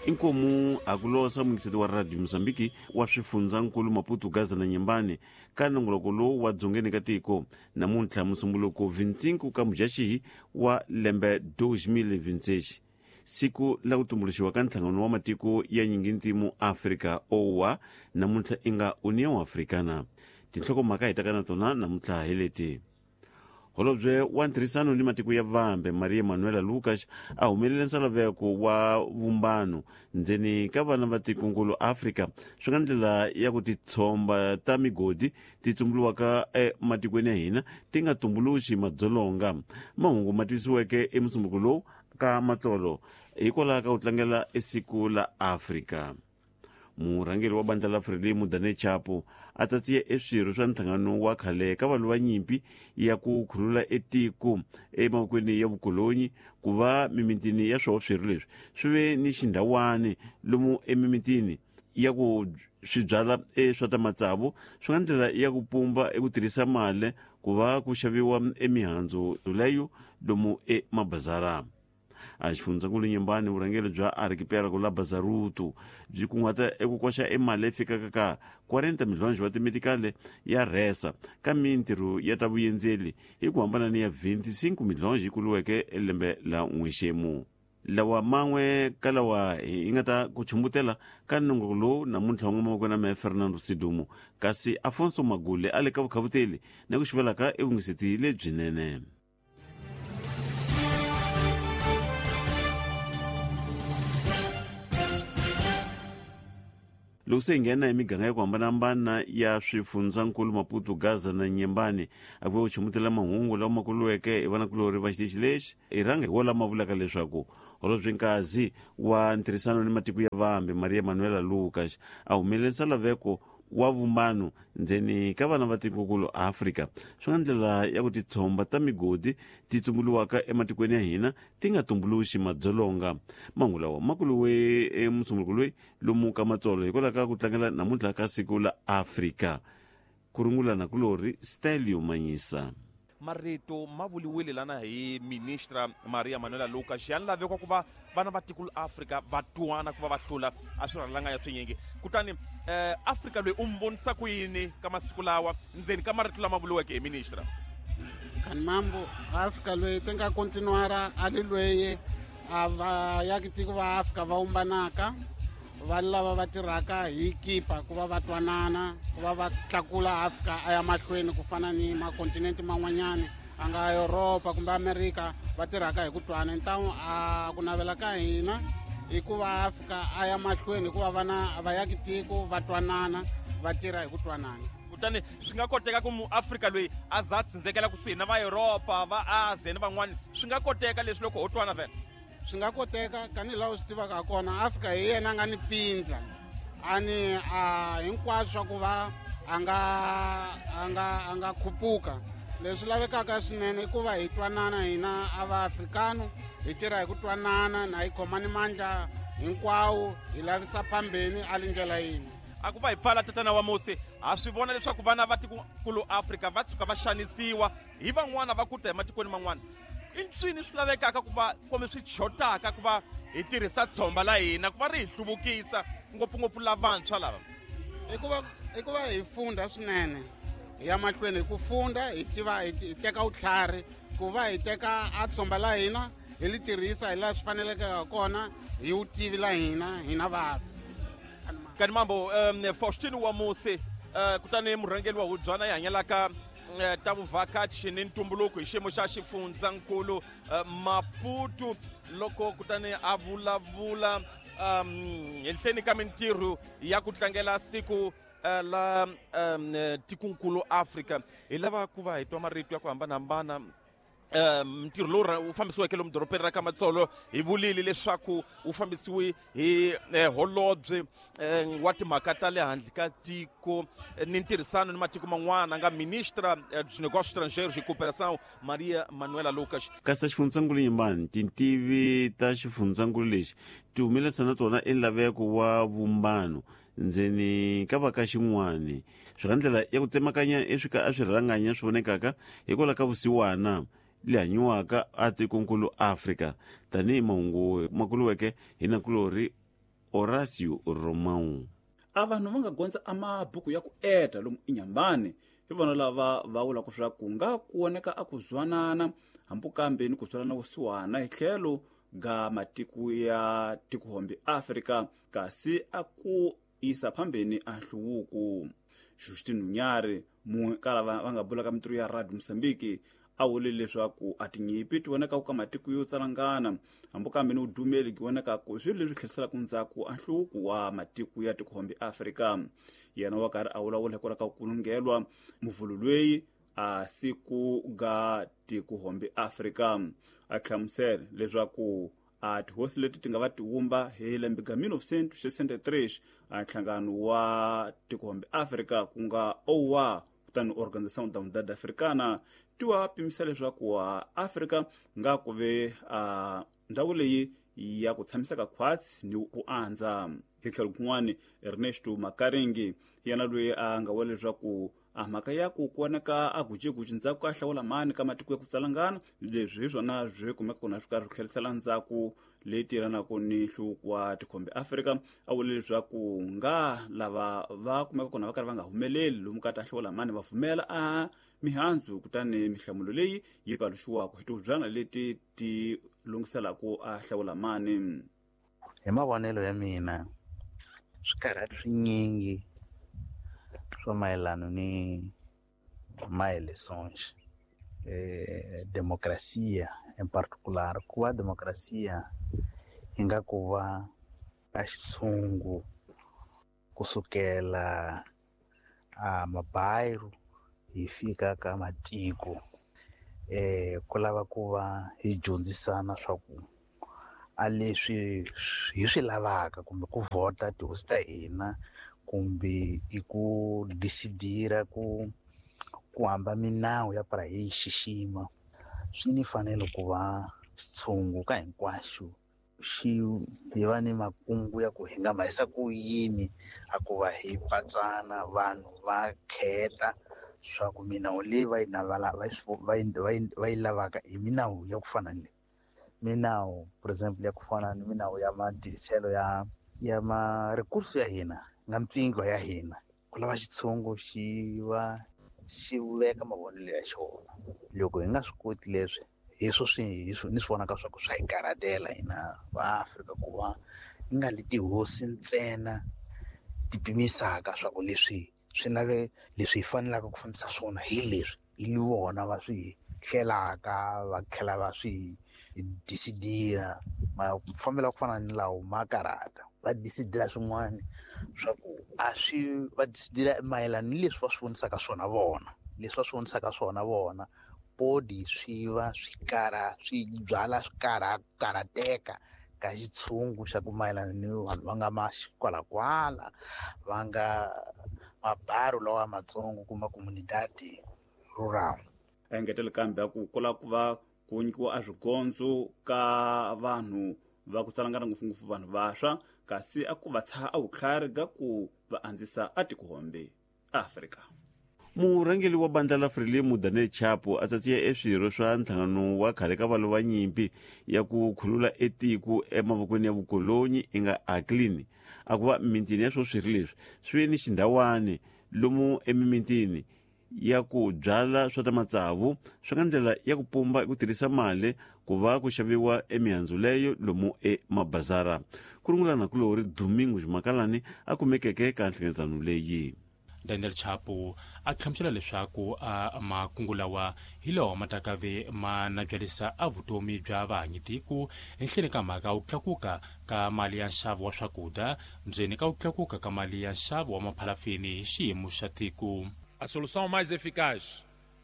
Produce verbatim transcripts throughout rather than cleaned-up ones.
Inkomu akulosa mungiseti wa Radio Mozambique wa swifundzankulu Maputo, Gaza na Nyembani ka nongoloko lowu wa dzongeni ka tiko namuntlha musumbuluko vinhanu ka Mudyaxihi wa lembe dois mil e vinte e seis, siku la ku tumbuluxiwa ka nhlangano wa matiko ya nyingintimu Afrika O A, namuntlha i nga União Africana. Tinhlokomhaka hi taka na tona namuntlha hi leti. Holobye wa ntirhisano ni matiko ya vambe Maria Manuela Lucas a humelele nsalaveko wa vumbano ndzeni ka vana va tikonkulu Afrika swi nga ndlela ya ku titshomba ta migodi ti tumbuluwaka ematikweni ya hina ti nga tumbuluxi madzolonga. Mahungu ma tivisiweke emusumbuluko lowu ka Matsolo hikwalaho ka ku tlangela esiku la Afrika. Murhangeri wa bandla la Frelimo Daniel Chapo a tsatsiye eswirho swa nhlangano wa khale ka valwi va nyimpi ya ku khulula etiko emavokweni ya vukolonyi ku va mimitini ya swoho swirho leswi swi ve ni xindhawani lomu emimitini ya ku swi byala eswa ta matsavu swi nga ndlela ya ku pumba eku tirhisa mali ku va ku xaviwa emihandzu leyo lomu emabazara. A xifundzankulu Nyembani vurhangeri bya archipelago la Bazaruto byi kunguhata eku koxa emali leyi fikaka ka quarenta milhões wa timetikale ya rhesa ka mintirho ya ta vuyendzeli hi ku hambana ni ya vinte e cinco milhões yi kuliweke lembe la n'wexemu. Lawa man'we ka lawa hi nga ta ku chumbutela ka nongoloko lowu namuntlha wa n'wamavoko na mehe Fernando Sidumo, kasi Afonso Magule a le ka vukhavuteli na ku xivelaka evungiseti lebyinene. Loko se hi nghena hi miganga ya ku hambanahambana ya swifundzankulu Maputo, Gaza na Nyembani a ku ve ku chumutela mahungu lawa ma kuliweke hi vanakulorhi va xitichi lexi hi rhanga hi wo lama vulaka leswaku holobye Nkazi wa ntirhisano ni matiko ya vambe Maria Manuela Lucas a humelele nsalaveko wa vumbano ndzeni ka vana va tikokulu Afrika swi nga ndlela ya ku titshomba ta migodi ti tumbuluwaka ematikweni ya hina ti nga tumbuluxi madzolonga. Mahungu lawa ma kuliwe emusumbuluko loyi lomu ka Matsolo hikwalaho ka ku tlangela namuntlha ka siku la Afrika. Ku rungula na kulorhi Stelio Manyisa. Marito ma vuliwile lana hi ministra Maria Manuela Lucas ya lavekwa ku va vana va tiko la Afrika va twana ku va va hlula a swi rhalanga ya swinyingi. Kutani eh, Afrika loyi u mi vonisa ku yini ka masiku lawa ndzeni ka marito lama vuliweke hi ministra? Kani mambo Afrika loyi ti nga kontinuara a li loyi a va yaki tiko va Afrika va umbanaka va lava va tirhaka hi kipa ku va va twanana ku va va tlakula Afrika a ya mahlweni ku fana ni makontinente man'wanyani a nga Europa kumbe Amerika va tirhaka hi ku twana. Ntamu a ku navela ka hina i ku va Afrika a ya mahlweni hikuva vana va yaki tiko va twanana va tirha hi ku twanana. Kutani swi nga koteka ku muAfrika loyi a za tsindzekela kusuhi na va Europa va Asia ni van'wani, swi nga koteka leswi loko ho twana vhele? Swi nga koteka tanihi laha u swi tivaka ha kona Afrika hi yena a nga ni pfindla a ni a hinkwaswo swa ku va a nga a nga a nga khupuka. Leswi lavekaka swinene i ku va hi twanana hina a va afrikano hi tirha hi ku twanana na hi khomani mandla hinkwawo hi lavisa phambeni a li ndlela yin'we. A ku va hi pfala tatana wa Musi, ha swi vona leswaku vana va tikokulu Afrika va tshuka va xanisiwa hi van'wana va ku ta ematikweni man'wana. I ncini swi lavekaka ku va kumbe swi chotaka ku va hi tirhisa tshomba la hina ku va ri hi hluvukisa ngopfungopfu lavantshwa lava? I ku va i ku va hi funda swinene hi ya mahlweni hi ku funda hi tiva hi teka vutlhari ku va hi teka a tshomba la hina hi li tirhisa hi laha swi faneleke ha kona hi vutivi la hina hina vafi. Kani mambo um, Faustino wa Musi uh, kutani murhangeri wa hubyana yi hanyelaka ta vuvhakachi ni ntumbuluko hi xiyimo xa xifundzankulu Maputo loko kutani a vulavula um henhleni ka mintirho ya ku tlangela siku la um tikonkulu Afrika. Hi lava ku va hi twa marito ya ku hambanahambana. Ntirho lowu wu fambisiweke lomu dorobeni ra ka Matsolo hi vulile leswaku wu fambisiwe hi holobye wa timhaka ta le handle ka tiko ni ntirhisano ni matiko man'wana nga ministra dos Negócios Estrangeiros e Cooperação Maria Manuela Lucas. Kasi xifundzankulu Nyembani tintivi ta xifundzankulu lexi ti humelerisa na tona enlaveko wa vumbano ndzeni ka va ka xin'wani swi nga ndlela ya ku tsemakanya eswika a swi rhanganya swi vonekaka hikwalaho ka vusiwana le hanyiwaka a tikonkulu Afrika tanihi mahungu ma kuliweke hi nakulorhi Horácio Romão. A vanhu va nga gondza a mabuku ya ku eta lomu inyambani hi vona lava va vulaka swa ku nga ku voneka a ku zwanana hambi kambe ni ku zwalana vusiwana hi tlhelo ga matiko ya tikuhombe Afrika kasi a ku isa phambeni a nhluvuko. Justin Unyari mun'we ka lava va nga bulaka mintirho ya Radio Mozambique a vule leswaku a tinyipi ti vonaka ka matiko yo tsalangana hambi kambe ni vudumeli byi vonaka ku swilo leswi tlheriselaka ndzhaku a nhluvuko wa matiko ya tikuhombe Afrika. Yena wa karhi a vulavula hikwalaho ka ku kulungelwa muvhulu loyi a siku ga tikuhombe Afrika a hlamusela leswaku a tihosi leti ti nga va tiwumba hi lembe ga mil novecentos e sessenta e três a nhlangano wa tikuhombe Afrika ku nga O A kutani Organização da Unidade Africana ti wa pimisa leswaku wa Afrika nga ku ve a ndhawu leyi ya ku tshamiseka khwatsi ni ku andza. Hi tlhelo kun'wani Ernesto Makaringi yena loyi a nga vula leswaku a mhaka ya ku vonaka a gujeguji ndzhaku ka hlawula mani ka matiko ya ku tsalangana leswi hi swona swi kumeka kona swi karhi swi tlherisela ndzhaku leyi tirhanaka ni nhluvuko wa tikhombe Afrika. A vule leswaku nga lava va kumeka kona va karhi va nga humeleli lomu ka ta hlawula mani va pfumela a mihandzu kutani mihlamulo leyi yi paluxiwaka hi tihubyana leti ti lunghiselaka a hlawula mani. Hi mavonelo ya mina swikarhati swinyingi swa mayelana ni ma-eleições, eh, democracia em particular, ku va democracia yi nga ku va a xitshungu kusukela a mabairro hi fika ka matiko, eh, ku lava ku va hi dyondzisana swa ku a leswi hi swi lavaka kumbe ku vhota tihosi ta hina kumbe i ku decidira ku ku hamba minawu ya para hi xixima swi ni fanele ku va xitshungu ka hinkwaxo xi hi va ni makungu ya ku hi nga mahisa ku yini a ku va hi patsana vanhu va kheta swa ku minawu leyi va yi navala va yi va yi lavaka hi minawu ya ku fana ni leyi minawu for example ya ku fana ni minawu ya matirhiselo ya ya ma recurso ya hina nga mpfingo ya hina ku lava xitshungu xi va xi veka mavonelo ya xona. Loko hi nga swi koti leswi hi swo swi hi swi ni swi vonaka swa ku swa hi karhatela hina va Afrika ku va yi nga li tihosi ntsena ti pimisaka swa ku leswi swi lave leswi hi fanelaka ku fambisa swona hi leswi hi li vona va swi hlelaka va tlhela va swi decidira mafambelo ku fana ni lawo ma karhata va decidira swin'wana swa ku a swi va decidira mayelana ni leswi va swi vonisaka swona vona leswi va swi vonisaka swona vona podi swi va swi karha swi byala swi karha karhateka ka xitshungu xa ku mayelana ni vanhu va nga maxikwalakwala va nga mabaru lawa matsongo kuma comunidade rural. A engetela kambe ku kula ku va ku nyikiwa a swigondzo ka vanhu va ku tsalangana ngopfungopfu vanhu vantshwa kasi a ku va tshaha a vutlhari ga ku va andzisa a tikuhombe Afrika. Murhangeri wa bandla la Frelimo Daniel Chapo a tsatsiya eswirho swa nhlangano wa khale ka valwa va nyimpi ya ku khulula etiko emavokweni ya vukolonyi i nga Aklini a ku va mintini ya swo swirho leswi swi ni xindhawani lomu emimitini ya ku byala swa ta matsavu swi nga ndlela ya ku pumba ku tirhisa mali ku va ku xaviwa emihandzu leyo lomu emabazara. Ku rungulana kulori Domingo Makalani a kumekeke ka nhlengeletano leyi. Daniel Chapo a hlamusela leswaku a makungu lawa hi lawa ma ta ve ma nabyalisa a vutomi bya vahanyitiko ehenhleni ka mhaka ku tlakuka ka mali ya nxavo wa swakudya ndzeni ka ku tlakuka ka mali ya nxavo wa maphalafini hi xiyimo xa tiko. A solução mais eficaz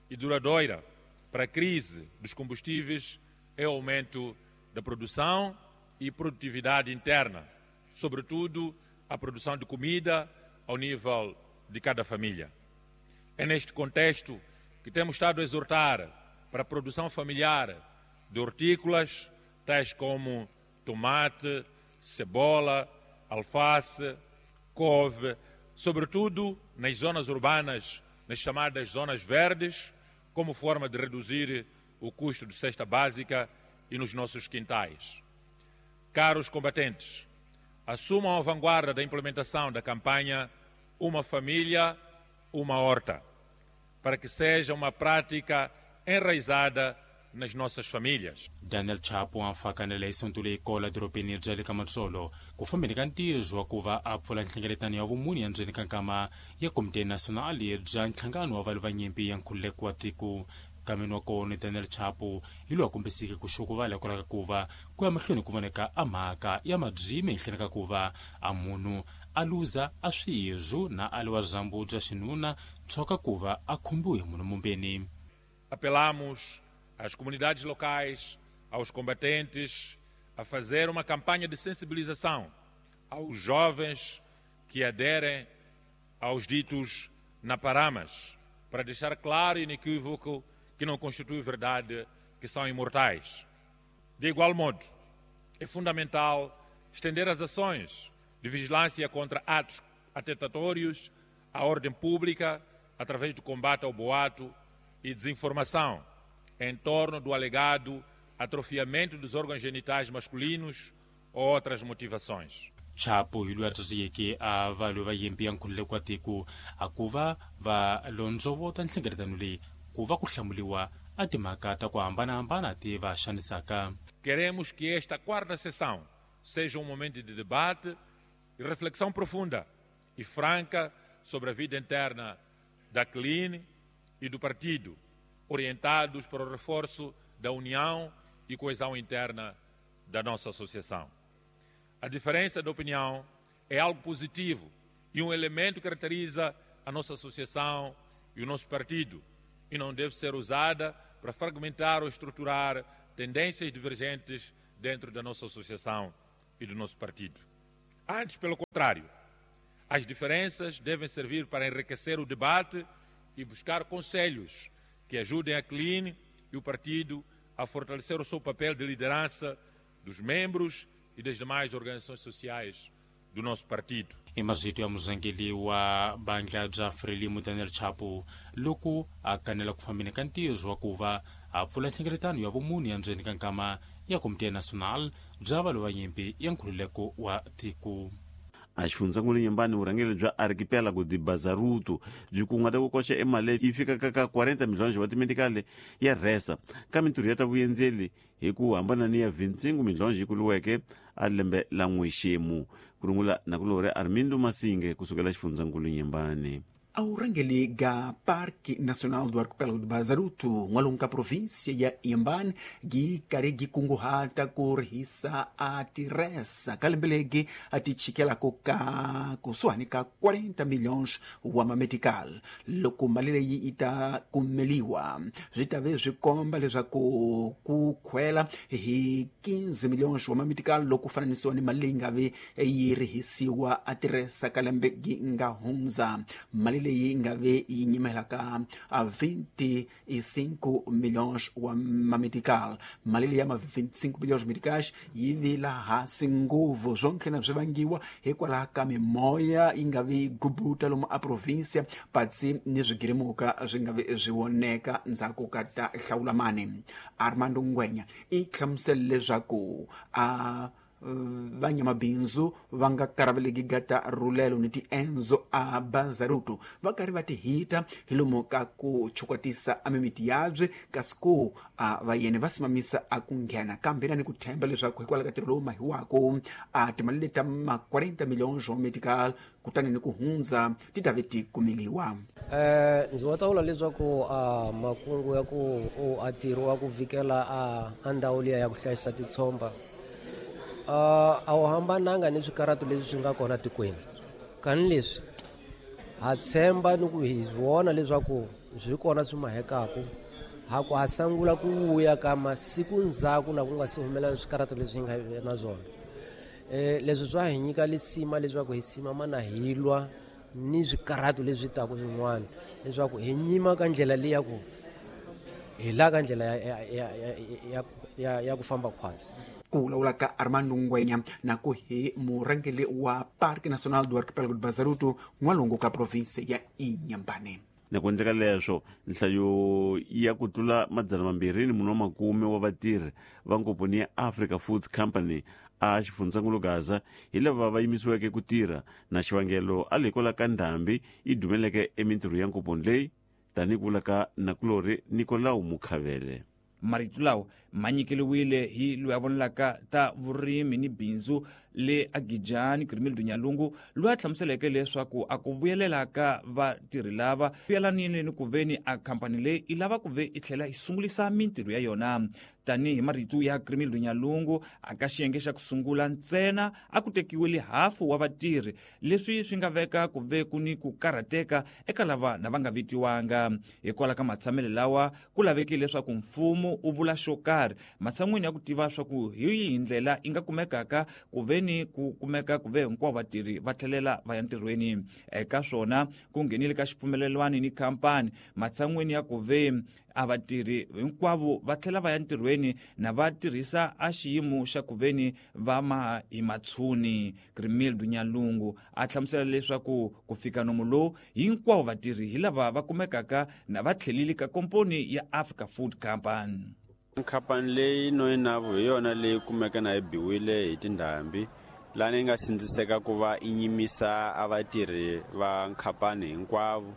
e duradoura para a crise dos combustíveis é o aumento da produção e produtividade interna, sobretudo a produção de comida ao nível de cada família. É neste contexto que temos estado a exortar para a produção familiar de hortícolas, tais como tomate, cebola, alface, couve, sobretudo nas zonas urbanas, nas chamadas zonas verdes, como forma de reduzir o custo de cesta básica e nos nossos quintais. Caros combatentes, assumam a vanguarda da implementação da campanha Uma Família, Uma Horta, para que seja uma prática enraizada nas nossas famílias. Daniel Chapo a fakanele isonto leyi kola dorobeni bya le ka Matsolo ku fambeni ka ntirho wa ku va a pfula nhlengeletano ya vumune ya ndzeni ka nkama ya Komite Nasionali bya Nhlangano wa Valwi va Nyimpi ya Nkhululeko wa Tiko. Nkameni wa kona Daniel Chapo hi loyi a kombiseke ku xukuvala hikwalaho ka ku va ku ya mahlweni ku voneka a mhaka ya mabyimi ehenhleni ka ku va a munhu a luza a swirho na a liwa dyambu bya xinuna tshoka ku va a khumbiwe hi munhu mumbeni. Apelamos às comunidades locais, aos combatentes, a fazer uma campanha de sensibilização aos jovens que aderem aos ditos naparamas, para deixar claro e inequívoco que não constitui verdade que são imortais. De igual modo, é fundamental estender as ações de vigilância contra atos atentatórios à ordem pública através do combate ao boato e desinformação em torno do alegado atrofiamento dos órgãos genitais masculinos ou outras motivações. Chapo hi loyi a tsakeke a valwi va nyimpi ya nkhululeko wa tiko a ku va va londzovota nhlengeletano leyi ku va ku hlamuriwa a timhaka ta ku hambanahambana ti va xanisaka. Queremos que esta quarta sessão seja um momento de debate e reflexão profunda e franca sobre a vida interna da C L I N e do partido, orientados para o reforço da união e coesão interna da nossa associação. A diferença de opinião é algo positivo e um elemento que caracteriza a nossa associação e o nosso partido e não deve ser usada para fragmentar ou estruturar tendências divergentes dentro da nossa associação e do nosso partido. Antes, pelo contrário, as diferenças devem servir para enriquecer o debate e buscar conselhos que ajudem a C L I N e o partido a fortalecer o seu papel de liderança dos membros e das demais organizações sociais do nosso partido. I marito ya murhangeri wa bandla bya Frelimo Daniel Chapo loko a kanela ku fambeni ka ntirho wa ku va a pfula nhlengeletano ya vumune ya ndzeni ka nkama ya Komite Nasional bya valwi va nyimpi ya nkhululeko wa tiko. A xifundzankulu Nyembani vurhangeri bya Archipelago de Bazaruto byi kunguhata ku koxa emali yi fikaka ka quarenta milhões wa timedikali ya rhesa ka mintirho ya ta vuyendzeli hi ku hambana ni ya vintshingu milhões yi kuliweke a lembe la n'wexemu. Ku rungula nakulorhi Armindo Masinge kusukela xifundzankulu Nyembani. Aurangeli ga Parque Nacional do Arquipélago do Bazaruto, n'walungu ka província ya Inhambane, gi karhi gi kunguhata ku rihisa a tirhesa ka lembe legi a ti chikelako ka kusuhani ka quarenta milhões wa mamedical. Loko mali leyi yi ta kumeliwa, swi ta ve swi komba leswaku ku khwela hi quinze milhões wa mamedical loko fananisiwa ni mali leyi nga ve yi rihisiwa a tirhesa ka lembe gi nga hundza. Mali leyi nga ve yi nyimelaka a vinte e cinco milhões wa mamedical. Mali leyi ya ma vinte e cinco milhões medicais yi vila hansi ngopfu, swo ntlhela swi vangiwa hikwalaho ka mimoya yi nga vi gubuta lomu a província patsi ni swigirimuka swi nga vi swi voneka ndzhaku ka ta hlawulamani. Armando Ngwenya i hlamusele leswaku a vanyamabindzu va nga karaveleki gata rulelo ni tiendzo a Bazaruto va karhi va ti hita hi lomu ka ku chukwatisa a mimiti yabye kasi ku a vayeni va simamisa a ku nghena kambe na ni ku themba leswaku hikwalaho ka ntirho lowu mahiwako a timali leti ta ma quarenta milhões wa medical kutani ni ku hundza ti ta ve ti kumeliwa. Eh ndzi wa ta vula leswaku a makungu ya ku a ntirho wa ku vikela a a ndhawu liya ya ku hlayisa titshomba Uh, a wu hambananga ni swikaratu leswi swi nga kona tikweni. Kani leswi ha tshemba ni ku hi vona leswaku swi kona swi mahekaku ha ku ha sangula ku vuya ka masiku ndzhaku na ku nga si humelela swikaratu leswi hi nga na swona. Eh leswi swa hi nyika lisima leswaku hi simama na hi lwa ni swikaratu leswi taka swin'wana leswaku hi nyima ka ndlela leyi ya ku hi la ka ndlela ya ya ya ya ya ku famba khwatsi. Ku vulavula ka Armando Ngwenya na ku hi murhangeri wa Parque Nacional do Arquipélago do Bazaruto n'walungu ka província ya Inhambane. Na ku endleka leswo nhlayo ya ku tlula madzana mambirhi ni mune wa makume wa vatirhi va nkomponi ya Africa Food Company a xifundzankulu Gaza hi lava va yimisiweke ku tirha na xivangelo a le kwala ka ndhambi yi dumeleke emintirho ya nkomponi leyi tanihi ku vula ka nakulori Nicolau Mukhavele. Marito lawa ma nyikeliwile hi loyi a vonelaka ta vurimi ni bindzu le Agijani Grimildo Nyalungu, loyi a hlamuseleke leswaku a ku vuyelela ka vatirhi lava vuyelanile ni ku veni a khampani leyi i lava ku ve i tlhela yi sungulisa mintirho ya yona. Tanihi marito ya Grimildo Nyalungu, a ka xiyenge xa ku sungula ntsena a ku tekiwile hafu wa vatirhi, leswi swi nga veka ku ve ku ni ku karhateka eka lava na va nga vitiwanga. Hikwalaho ka matshamelo lawa ku lavekile leswaku mfumo u vula xo karhi matshan'wini ya ku tiva swa ku hi yihi ndlela yi nga kumekaka ku ve ni ku kumeka ku ve hinkwavo vatirhi va tlhelela va ya ntirhweni. Eka swona ku nghenile ka xipfumelelwano ni khampani matshan'wini ya ku ve a vatirhi hinkwavo va tlhela va ya ntirhweni na va tirhisa a xiyimo xa ku veni va maha hi matshuni. Grimildo Nyalungu a hlamusela leswaku ku fika nomu lowu hinkwavo vatirhi hi lava va kumekaka na va tlhelile ka komponi ya Africa Food Company. Khampani leyi noyinavu hi yona leyi kumeka na yi biwile hi tindhambi lani yi nga sindziseka ku va i nyimisa a vatirhi va khampani hinkwavo,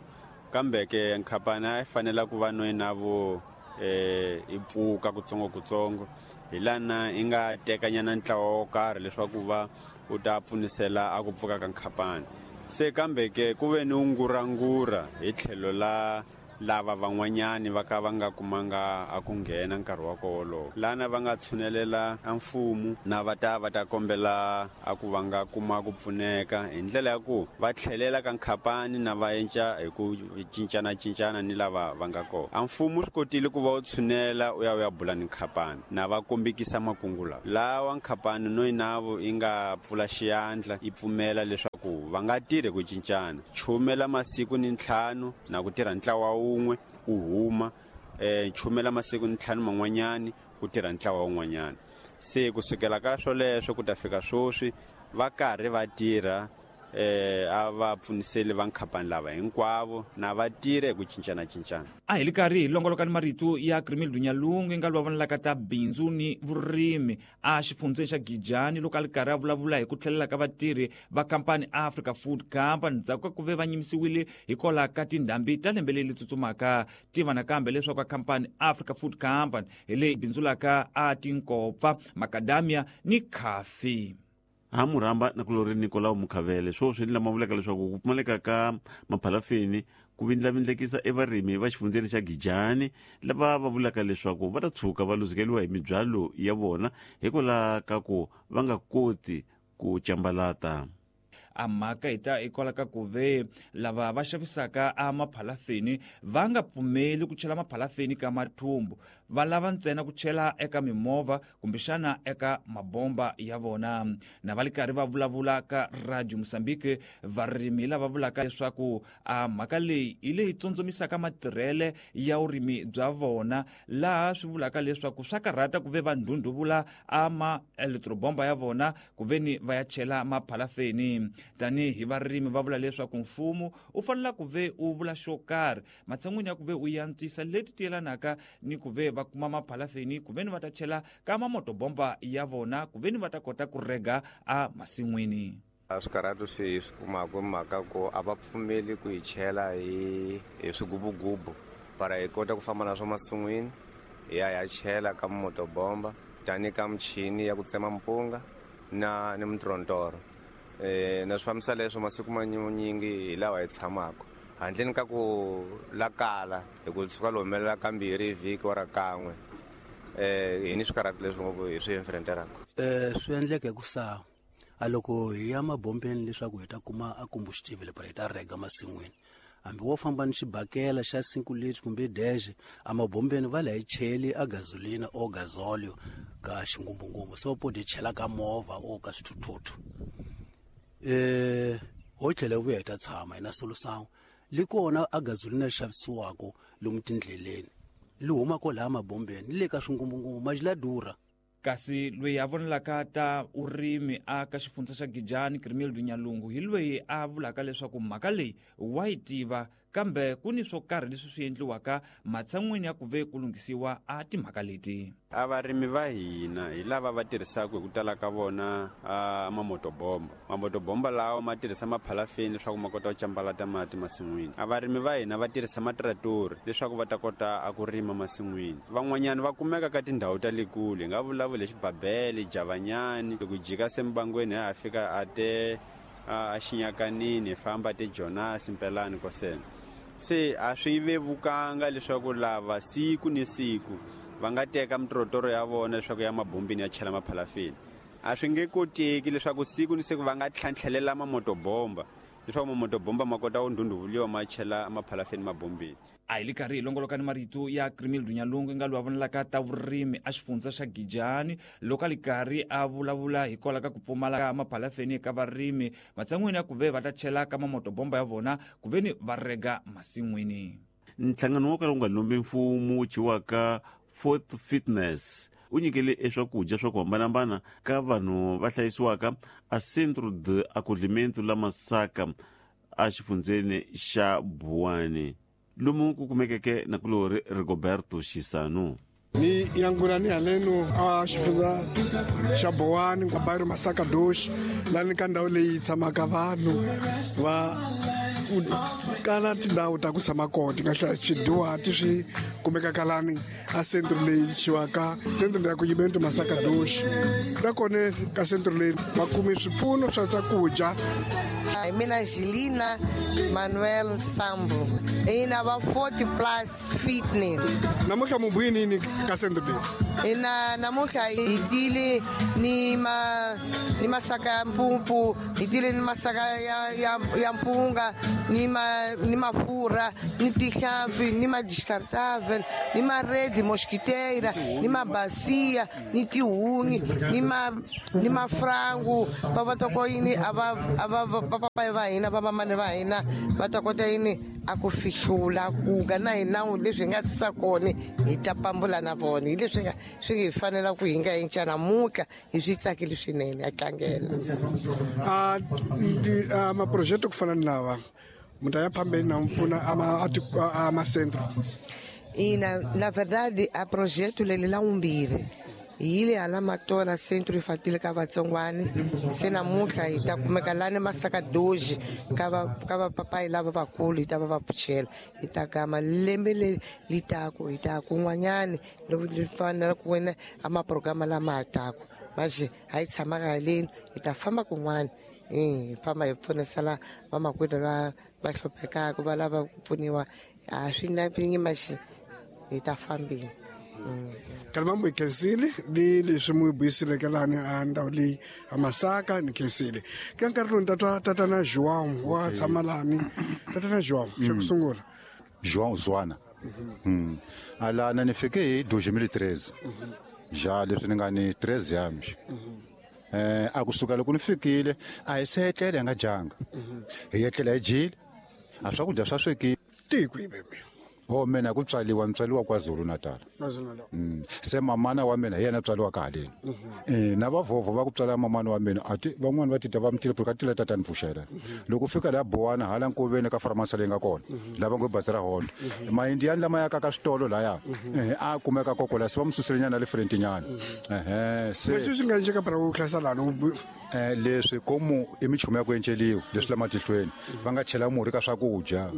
kambe ke khampani a yi fanela ku va noyinavu eh i pfuka kutsongo-kutsongo hi lana i nga tekanyana ntlawa wo karhi leswaku va u ta pfunisela a ku pfuka ka khampani. Se kambe ke ku ve ni ngurangura hi tlhelo la lava van'wanyani va ka va nga kumanga a ku nghena nkarhi wa kolo lana va nga tshunelela a mfumo na va ta va ta kombela a ku va nga kuma ku pfuneka hi ndlela ya ku va tlhelela ka khampani na va enca hi ku cincana cincana ni lava va nga kona. A mfumo swi kotile ku va u tshunela u ya u ya bula ni khampani na va kombekisa makungu lawa lawa khampani noyinavo yi nga pfula xiyandla yi pfumela leswaku va nga tirhi ku cincana chumela masiku ni ntlhanu na ku tirha ntlawa wun'we u huma eh chumela masiku ni ntlhanu man'wanyani ku tirha ntlawa wun'wanyana. Se kusukela ka swoleswo ku ta fika swoswi va karhi va tirha eh a va pfuniseli va khampani lava hinkwavo na va tirhe ku cincana cincana. A hi li karhi hi longoloka ni marito ya Grimildo Nyalungu nga lwa vonelaka ta bindzu ni vurimi a xifundzeni xa Gijani loko a li karhi a vulavula hi ku tlhelela ka vatirhi va khampani Africa Food Company ndzhaku ka ku ve va nyimisiwile hikwalaho ka tindhambi ta lembe leri tsutsumaka. Tiva nakambe leswaku khampani Africa Food Company hi leyi bindzulaka a tinkopfa, makadamia ni khafi. Ha murhamba nakulori Nicolau Mukhavele swoswi ni lama vulaka leswaku ku pfumaleka ka maphalafini ku vindlavindlekisa evarimi va xifundzeni xa Gijani lava va vulaka leswaku va ta tshuka va luzekeriwa hi mibyalo ya vona hikwalaho ka ku va nga koti ku cambalata. A mhaka hi ta hikwalaho ka ku ve lava va xavisaka a maphalafeni va nga pfumeli ku chela maphalafeni ka mathumbu, va lava ntsena ku chela eka mimovha kumbexana eka mabomba ya vona. Na va li karhi va vulavula ka Radio Mozambique varimi lava vulaka leswaku a mhaka leyi hi leyi tsondzomisaka matirhele ya vurimi bya vona, laha swi vulaka leswaku swa karhata ku ve va ndhundhuvula a ma elektrobomba ya vona ku ve ni va ya chela maphalafeni. Tanihi varimi va vula leswaku mfumo u fanele ku ve u vula xo karhi matshan'wini ya ku ve u yantswisa leti tiyelanaka ni ku ve va kuma maphalafeni ku ve ni va ta chela ka mamotobomba ya vona ku ve ni va ta kota ku rega a masin'wini. A swikarhatu swi swi kumaka mhaka ku a va pfumeli ku hi chela hi hi swigubugubu para hi kota ku famba na swa masin'wini hi ya ya chela ka motobomba tani ka michini ya ku tsema mpunga na ni mintorontoro. Eh na swi fambisa leswo masiku manyingi hi lawa hi tshamaka handleni ka ku lakala hi ku tshuka lo humelela kambirhi hi vhiki wa ra kan'we eh hi ni swikarhatu leswi ngopfu hi swi enfrenteraka. Eh swi endleka hi ku sa a loko hi ya mabombeni leswaku hi ta kuma a combustible para hi ta rega masin'wini, hambi wo famba ni xibakela xa cinco liters kumbe dexe a mabombeni va la hi cheli a gasolina o gasolio ka xingumbungumbu so po di chela ka movha o ka swithuthuthu. Eh ho tlhela vuya hi ta tshama hi na solution li kona a gasolina ri xavisiwaka lomu tindleleni li huma kwalaha mabombeni le ka swingumbungumbu ma la durha. Kasi loyi a vonelaka ta urimi a ka xifundza xa Gijani Grimildo Nyalungu hi loyi a vulaka leswaku mhaka leyi wa yi tiva Kambe ku ni swo karhi leswi swi endliwaka matshan'wini ya ku ve ku lunghisiwa a timhaka leti. A varimi va hina hi lava va tirhisaka hi ku tala ka vona a mamotobomba. Mamotobomba lawa ma tirhisa maphalafeni leswaku ma kota ku cambalata mati masin'wini. A varimi va hina va tirhisa matratori leswaku va ta kota a ku rima masin'wini. Van'wanyana va kumeka ka tindhawu ta le kule, hi nga vulavula hi Xibabele, Javanyani, loko hi jika sembangweni ha fika a te a Xinyakanini, hi famba te Jonas, Mpelani, Kosena. Se a swi vevukanga leswaku lava siku ni siku va nga teka mitrotoro ya vona leswaku ya mabombini ya chela maphalafeni. A swi nge koteki leswaku siku ni siku va nga tlhantlhelela mamotobomba leswaku mamotobomba ma kota ku ndhundhuvuliwa ma chela maphalafeni mabombini. A hi le karhi hi longoloka ni marito ya Crimildo Nyalungu nga loyi a vonelaka ta vurimi a xifundza xa Gijani loko a li karhi a vulavula hikwalaho ka ku pfumala ka maphalafeni eka varimi matshan'wini ya ku ve va ta chela ka mamotobomba ya vona ku ve ni va rega masin'wini. Nhlangano wo kala wu nga lombi mfumo wu thyiwaka Fourth Fitness u nyikele eswakudya swa ku hambanahambana ka vanhu va hlayisiwaka a Centro de Acolhimento la Masaka a xifundzeni xa Buwani, lomu ku kumekeke nakulorhi Rigoberto Xisanu. Ni yangula ni haleno a xifundza xa Buwani ka bairro Masaka Dosh, lani ka ndhawu leyi tshamaka vanhu va kala tindhawu ta ku tshama kona ti nga hlaya swidyuhati swi kumekaka lani a centro leyi thyiwaka centro ya ku yimento Masaka Dosh. Nakona ka centro leyi va kume swipfuno swa swakudya. Hi mina Gilina Manuel Sambo, ina va forty plus fitness. Namuntlha mu buyini yini ka centro leyi? Ina namuntlha hi tile ni ma ni masaka ya mpumpu, hi tile ni masaka ya ya ya mpunga, ni ma ni mafurha, ni tihlampfi, ni ma descartável, ni ma rede mosquiteira, ni ma bacia, ni tihunyi, ni ma ni mafrangu, va va ta ko yini a va a va papai va hina va mamani va hina va ta kota yini a ku fihlula kuka na hina leswi hi nga sisa kona hi ta pambula na vona hi leswi nga swi hi fanela ku hi nga cinca namuntlha hi swi tsakile swinene a tlangela. A a maproject ku fana ni lava munhu ya phambeni na mpfuna a a macentro. Ina na verdade a projeto leli la umbirhi hi le hala Matola centro infantil ka vatsongwani se namuntlha hi ta kumeka lani Masaka Doji ka va ka vapapayi lava vakulu hi ta va va pfuxela hi ta gama lembe leri li taku hi ta kun'wanyani loko li fanela ku wena a maprograma lama ha taku manje a hi tshamaka haleni hi ta famba kun'wana hi famba hi pfunisa la vamakwerhu va va hluphekaka va lava ku pfuniwa a swi na maxi hi ta fambini. Kalma mu khensile ni leswi mu buyiseleke lani a ndhawu leyi a Masaka ni khensile. Ka nkarhi lowu ni tatwa tatana João wa tshama lani. Tatana João, xa ku sungula. João Zwana. Alana ni fike hi dois mil e treze. Ja leswi ni nga ni treze anos. Eh a kusuka loko ni fikile a hi se etlela hi nga dyanga. Hi etlela hi dyile. A swakudya swa swekile. Tiko hi bebe. Ho mina ku tswaliwa ni tswaliwa KwaZulu Natal. Mm. Se mamana wa mina hi yena tswaliwa ka haleni. Eh na vavhovho va ku tswala mamana wa mina ati van'wana va tita va mutile ka tila tatani pfuxela. Loko fika la Buwana hala nkoveni ka farmasi leyi nga kona lava ngo bazi ra Honda. Maindiani lama ya ka ka switolo laya eh a kumeka kokola se va mususele nyana le front nyana. Eh se leswi swi nga endleka para ku hlasela lani eh leswi komu i michumu ya ku enceliwa leswi la matihlweni va nga chela murhi ka swakudya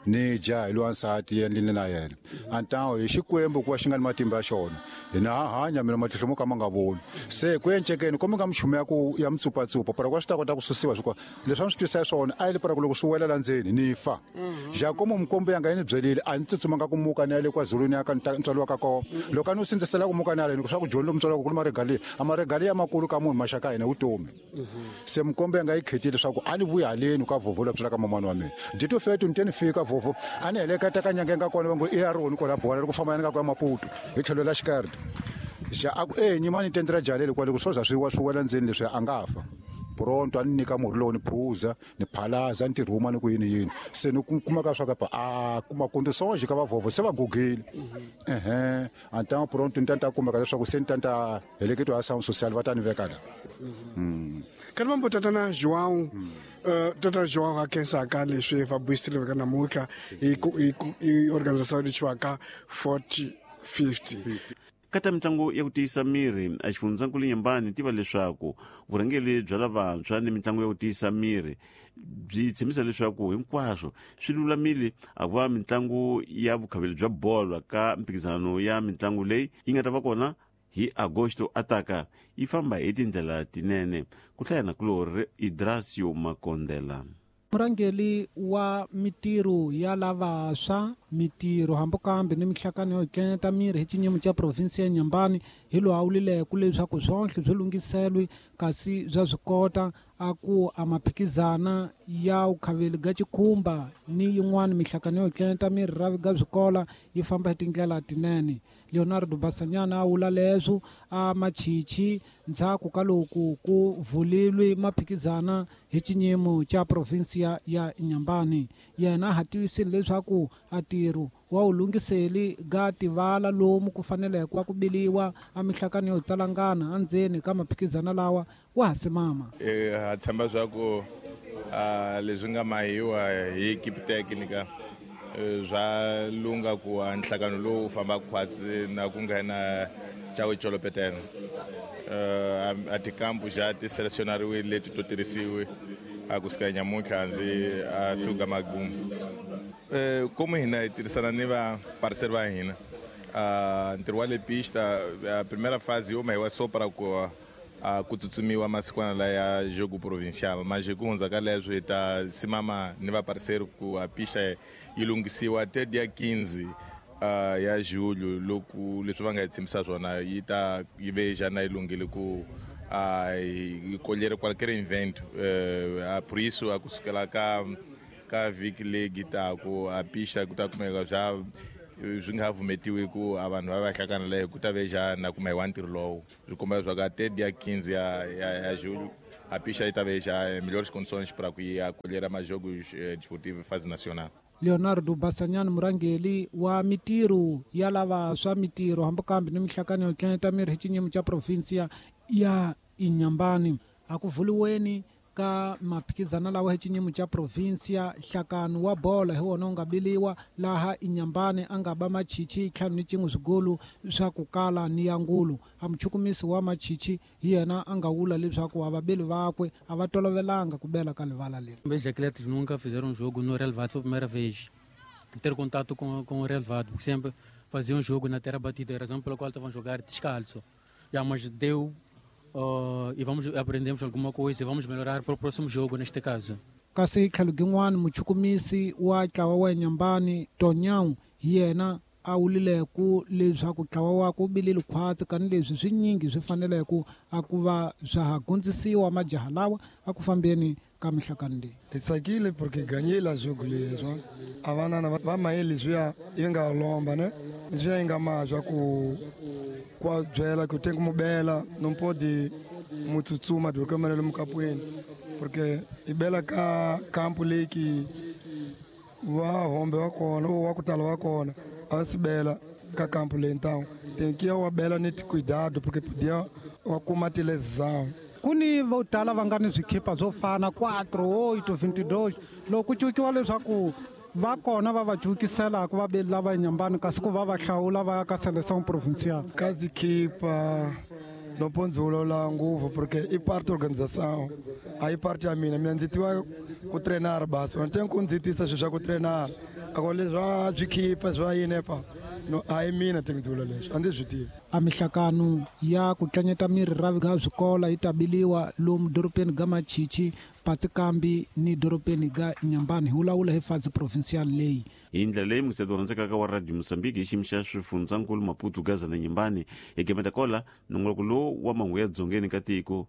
ni dya hi lwansati endlini na yena. Antao hi xikwembu ku va xi nga ni matimba ya xona hina ha hanya mina matihlo mo ka ma nga voni se ku encekeni komi nga michumu ya ku ya mitsupatsupa para ku swi ta kota ku susiwa swi leswi a ni swi twisa swona a yi le para ku loko swi wela la ndzeni ni fa Jakomo mikombo yanga yi ni byelile a ni tsutsumanga ku muka ni ya le KwaZulu ni ya ka ntswalo wa ka kona loko a ni wu sindzisela ku muka ni haleni swa ku joni lomu ntswalo wa ku ni maregaliya a maregaliya makulu ka munhu maxaka ya hina vutomi se mikombo yanga yi khetile leswaku a ni vuyi haleni ka vhovho la byelaka mamani wa mina dito fetu ni te ni fika vhovho a ni heleketa ka nyanga nga kona va ngo i ya roni kwala Buwana loko famba yana ka Maputo hi tlhelo la xikarhi xa a ku e nyimani tendra jalele kwale ku swo za swi wa swi wela ndzeni leswi a nga fa pronto a ni nyika murhi lowu ni phuza ni phalaza ni tirhuma ni ku yini yini se ni kuma ka swa ka a kuma kondisonje ka vavhovho se va gugile ehe antao pronto ni tanta kumeka leswaku se ni tanta heleketiwa ya sound social va ta ni veka la ka mambo tatana João Uh, Tata João a khensaka leswi va buyisile ka namuntlha hi hi organization leyi forty fifty. Kata mitlangu ya ku tiyisa miri a xifundzankulu Inhambane tiva leswaku vurhangeri bya lavantshwa ni mitlangu ya ku tiyisa miri byi tshembisa leswaku hinkwaswo swi lulamile a ku va mitlangu ya vukhaveli bya bolo ka mphikizano ya mitlangu leyi yi nga ta va kona hi Agosto ataka yi famba hi tindlela tinene. Ku hlaya na kulori Idrasio Makondela. Murhangeri wa mitirho ya lavantshwa mitirho hambi kambe ni mihlakano yo tlanyeta miri hi xinyimo xa provinsi ya Inhambane hi lowu a wulileke leswaku swonhle swi lunghiselwe kasi bya swi kota a ku a maphikizana ya vukhaveli ga xikhumba ni yin'wana mihlakano yo tlanyeta miri ra ga swikola yi famba hi tindlela tinene. Leonardo Basanyana a wula leswo a machichi ndzhaku ka loko ku vulilwe maphikizana hi xinyimo xa provinsi ya Inhambane. Yena a ha tivisile leswaku a ntirho wa wu lunghiseli ga tivala lomu ku faneleke wa ku biliwa a mihlakano yo tsalangana endzeni ka maphikizana lawa wa ha simama. Ha tshemba swa ku leswi nga mahiwa hi equipe técnica swa lunga ku nhlangano lowu famba khwatsi na ku nghena Chawe Cholopetene. A tikampu ja ti selecionariwile leti to tirhisiwe a kusuka nyamuntlha ndzi a siku magumu. Como hina hi tirhisana ni va parceiro va hina ntirho wa le pista a primeira fase yo mahiwa só para ku ku tsutsumiwa masikwana laya jogo provincial, mas ku hundza ka leswo hi ta simama ni va parceiro ku a pista yi lunghisiwa te dia quinze ya julho loko leswi va nga hi tshembisa swona yi ta yi veja na yi lunghile ku yi colher qualquer evento. Por isso a kusukela ka ka vhiki leyi taku a pista ku ta kumeka swa swi nga vumetiwi ku a vanhu va va hlangana leyo ku ta veja na kuma hi wa ntirho lowu swi komba leswaku a te dia quinze ya ya julho a pista yi ta veja melhores condições para ku ya colher majogos desportivos fase nacional. Leonardo Basanyana murhangeri wa mitirho ya lavantshwa mitirho hambi kambe ni mihlakano yo tlanyeta miri hi xinyimo xa provinsi ya Inhambane a ku vuliweni ka maphikizana lawa hi xinyimo xa provinsi nhlakano wa bolo hi wona wu nga biliwa laha Inhambane a nga ba machichi ntlhanu ni cin'we swigolo swa ku kala ni ya ngulu. A muchukumisi wa machichi hi yena a nga wula leswaku a vabeli vakwe a va tolovelanga ku bela ka livala leri. Os atletas nunca fizeram um jogo no relvado, foi a primeira vez ter contato com, com o relvado, porque sempre faziam um jogo na terra batida, a razão pela qual estavam a jogar descalço. Já, mas deu. Uh, e vamos aprendemos alguma coisa e vamos melhorar para o próximo jogo neste caso. Kasi tlhelo gin'wana muchukumisi wa ntlawa wa Inhambane Tonyawu hi yena a wulile ku leswaku ntlawa wakwe wu bilile khwatsi kani leswi swinyingi swi faneleke a ku va swa ha gundzisiwa majaha lawa a ku fambeni ka mihlakano leyi. Hi tsakile porque ganhei la jogo leswi a vanana va maye leswiya yi nga lomba ne leswiya yi nga ma swa ku kwa byela ku tem como bela não pode mutsutsuma de qualquer maneira mukapweni porque i bela ka campo leyi ki va hombe wa kona wa ku tala wa kona a si bela ka campo leyi então tem que wa bela ni cuidado porque podia wa kuma lesão. Ku ni vo tala va nga ni swikhipa swo fana quatro oito vinte e dois loko ku cukiwa leswaku va kona va va cukiselaka vabeli lava Inhambane kasi ku va va hlawula va ya ka seleção provincial. Ka tikhipa no pode vulavula ngopfu porque i parte organização a yi parte ya mina mina ndzi tiva ku treinar basi va tem ku ndzi tisa swilo swa ku treinar ako leswi swa swikhipa swa yini pa no a yi mina ti ndzi vula leswi a ndzi swi tivi. A mihlakano ya ku tlanyeta miri ra ga swikola yi ta biliwa lomu dorobeni ga Machichi Patsikambi ni dorobeni ga Inhambane hi vulavula hi fase provincial leyi. Hi ndlela leyi mukiseti rhandzekaka wa Radio Mozambique hi xiyimo xa swifundzankulu Maputo Gaza na Inhambane hi gemeta kola nongoloko lowu wa mahungu ya dzongeni ka tiko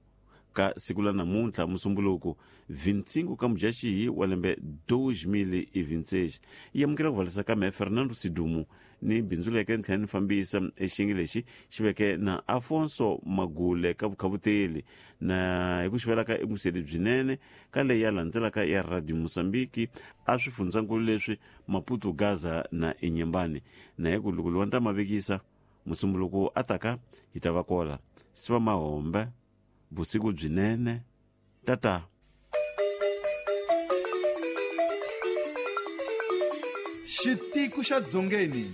ka siku la namuntlha musumbuluko vinte e cinco ka Mudyaxihi wa lembe dois mil e vinte e seis. Yi amukela ku valisa ka me Fernando Sidumo ni bindzu leke ni tlhela ni fambisa exiyenge lexi xi veke na Afonso Magule ka vukhavuteli na hi ku xivelaka ekuseli byinene ka leyi ya landzelaka ya Radio Mozambique a swifundzankulu leswi Maputo Gaza na Inhambane na hi ku loko luwa ni ta mavekisa musumbuluko ataka hi ta va kola siva mahombe vusiku byinene tata. Xitiku xa Dzongeni.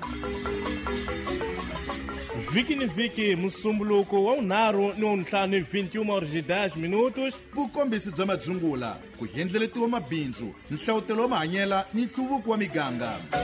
Vhiki ni vhiki, musumbuluko wa vunharhu ni wa vuntlhanu, vinte e uma horas e dez minutos. Vukombisi bya madzungula, ku endleletiwa mabindzu, nhlavutelo wa mahanyela ni nhluvuko wa miganga.